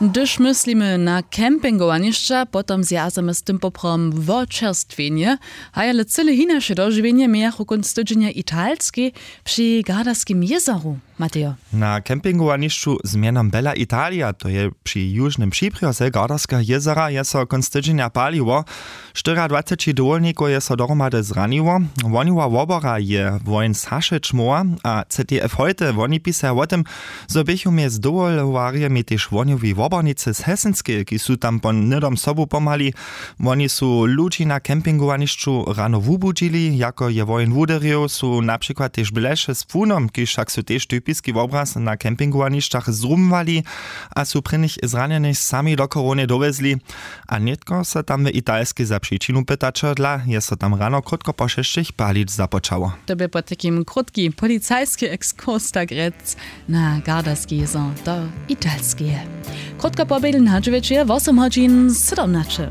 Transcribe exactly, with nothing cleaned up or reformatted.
Hdyž myslimy na campingowanišća, potom zwjazamy z tym poprawom wočerstwjenje. Haj ale cyle hinaše dožiwjenje mějachu kónc tydźenja italskej při Gardaskim jězoru. Matejo. Na campingowanišću z mjenom Bella Italia, to je při južnym přibrjoze Gardarskeho jězora, je so kónc tydźenja paliło. Štyriadwaceći dowolnikow je so dohromady zraniło. Woniła wobora je wojen Saše Čmoła a C T F Hojte. Woni pisaja wo tym, zo běchu mjez dowolowarjemi tež wonjowi wobornicy z Hesenskeje, kiž su tam po hnydom sobu pomhali. Woni su ludźi na campingowanišću rano wubudźili, jako je wojen wuderjow, su na přikład tež bleše z płunom, kiž wšak su tež typiski wobraz na campingowanišćach, zrumowali a su prěnich zranjenych sami do chorownje dowjezli. A nětko so tam w Italskej za přičinu pytaćo dla, je so tam rano krótko po šesćich palić započało. To bě potajkim krótki policajski ekskurs, tak rjec, na Gardarski jězor do Italskeje. Krótko pobědl na dźewjeće je wosym hodźin sydomnaće.